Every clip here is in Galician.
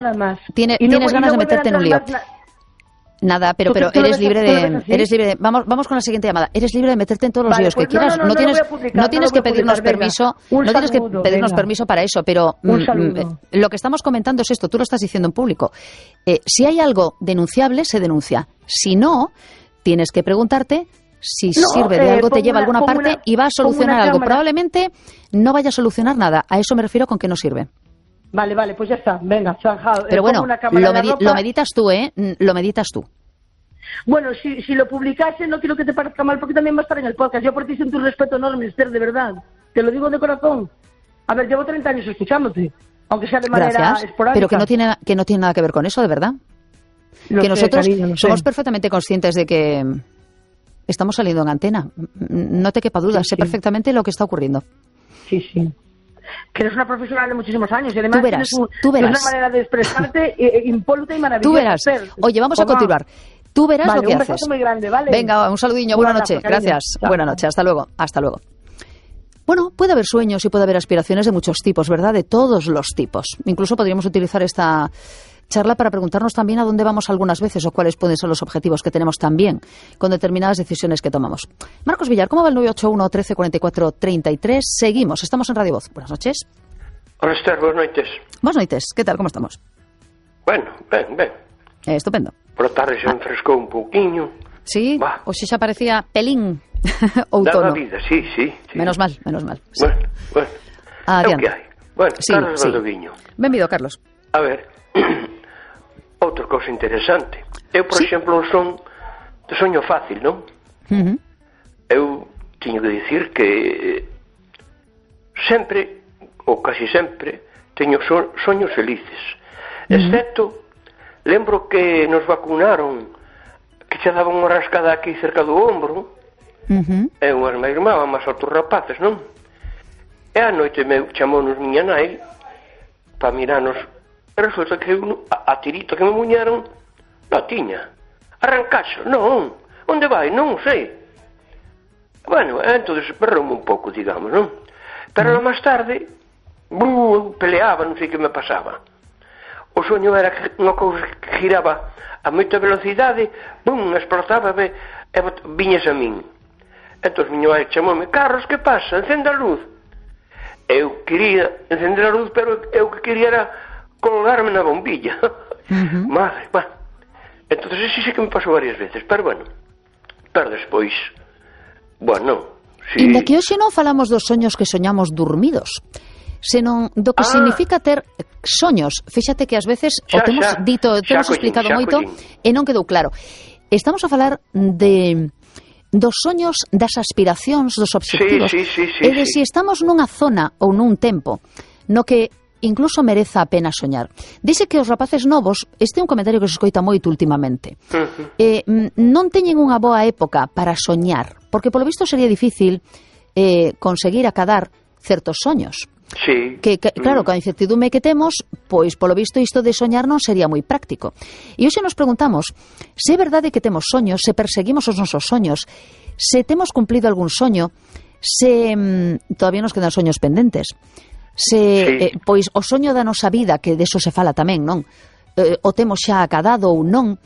nada más. Tienes ganas de meterte en un lío. Nada, pero eres libre de... Vamos con la siguiente llamada. Eres libre de meterte en todos los líos que quieras. No tienes que pedirnos permiso. No tienes que pedirnos permiso para eso, pero lo que estamos comentando es esto. Tú lo estás diciendo en público. Si hay algo denunciable, se denuncia. Si no, tienes que preguntarte si sirve de algo, te lleva a alguna parte y va a solucionar algo. Probablemente no vaya a solucionar nada. A eso me refiero con que no sirve. Vale, pues ya está, venga, zanjado. Pero bueno, lo meditas tú, ¿eh? Lo meditas tú. Bueno, si lo publicase, no quiero que te parezca mal, porque también va a estar en el podcast. Yo por ti siento un respeto enorme, Esther, de verdad. Te lo digo de corazón. A ver, llevo 30 años escuchándote, aunque sea de manera esporádica. Pero que no tiene nada que ver con eso, de verdad. Nosotros somos perfectamente conscientes de que estamos saliendo en antena. No te quepa duda, sé perfectamente lo que está ocurriendo. Sí. Que eres una profesional de muchísimos años y además tú verás. tienes una manera de expresarte impoluta y maravillosa. Tú verás. Oye, vamos a continuar. Tú verás lo que haces. Un beso muy grande, ¿vale? Venga, un saludiño, buena noche. Gracias. Buena noche, hasta luego. Bueno, puede haber sueños y puede haber aspiraciones de muchos tipos, ¿verdad? De todos los tipos. Incluso podríamos utilizar esta charla para preguntarnos también a dónde vamos algunas veces o cuáles pueden ser los objetivos que tenemos también con determinadas decisiones que tomamos. Marcos Villar, ¿cómo va el 981 13 44 33? Seguimos, estamos en Radio Voz. Buenas noches. Hola, Esther, buenas noites. Buenas noites, ¿qué tal? ¿Cómo estamos? Bueno, ben. Estupendo. Por la tarde se enfrescou un pouquiño. Sí, o si xa parecía pelín outono. Da vida, sí. Menos mal. Sí. Bueno. É o que hai. Bueno, sí, Carlos Valdoviño. Benvido, Carlos. A ver, outra cousa interesante. Eu, por exemplo, son de soño fácil, non? Eu teño que dicir que sempre, ou casi sempre, teño soños felices. Excepto, lembro que nos vacunaron, que xa daban unha rascada aquí cerca do ombro, e unhas máis irmá, máis outros rapaces, non? E a noite chamounos miña nai para mirarnos. E resulta que a tirita que me muñeron non tiña. Arrancaxo, non. Onde vai? Non sei. Bueno, entonces berroume un pouco, digamos, non? Pero máis tarde, peleaba, non sei que me pasaba. O soño era que unha cousa que giraba a moita velocidade, explotaba e viñas a min. Entón, miña nai chamoume: Carlos, que pasa? Encende a luz. Eu quería encender a luz, pero eu que quería era colgarme na bombilla. Madre, bueno. Entón, sí que me pasou varias veces, pero bueno. Pero despois, bueno, sí. Inda que hoxe non falamos dos soños que soñamos dormidos, senón do que significa ter soños. Fíxate que ás veces o temos dito, temos explicado moito e non quedou claro. Estamos a falar dos soños, das aspiracións, dos obxectivos, e de si estamos nunha zona ou nun tempo no que incluso mereza a pena soñar. Dice que os rapaces novos, este é un comentario que se escoita moito últimamente, non teñen unha boa época para soñar, porque polo visto sería difícil conseguir acadar certos soños. Sí. Que claro, con a incertidume que temos, pois polo visto isto de soñar non sería moi práctico. E hoxe nos preguntamos se é verdade que temos soños, se perseguimos os nosos soños, se temos cumplido algún soño, se todavía nos quedan soños pendentes, se pois o soño da nosa vida, que deso se fala tamén, non? O temos xa acadado ou non.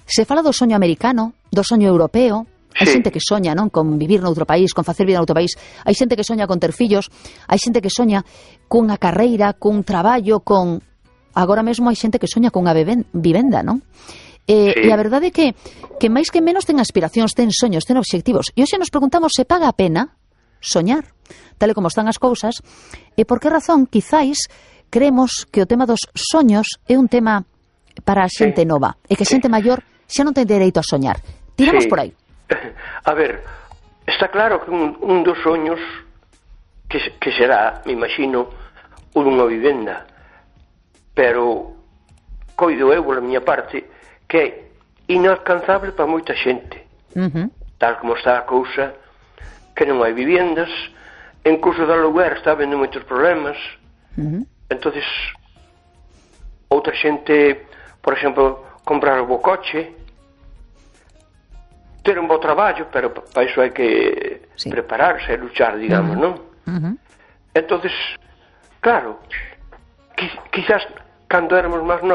Se fala do soño americano, do soño europeo. Hai xente que soña, non, con vivir noutro país, con facer vida noutro país. Hai xente que soña con ter fillos, hai xente que soña cunha carreira, cun traballo, con... Agora mesmo hai xente que soña cunha vivenda, non? E a verdade é que máis que menos ten aspiracións, ten soños, ten obxectivos. E hoxe nos preguntamos se paga a pena soñar, tal e como están as cousas, e por que razón, quizáis, creemos que o tema dos soños é un tema para a xente nova, e que a xente maior xa non ten dereito a soñar. Tiramos por aí. A ver, está claro que un dos soños que será, me imagino, unha vivenda, pero coido eu, pola miña parte, que é inalcanzable para moita xente. Tal como está a cousa, que non hai vivendas, en curso de aluguer está habendo moitos problemas. Entonces, outra xente, por exemplo, comprar o bo coche, ter un bo traballo, pero para iso hai que prepararse e luchar, digamos, non? Entonces, claro, quizás cando éramos máis novos,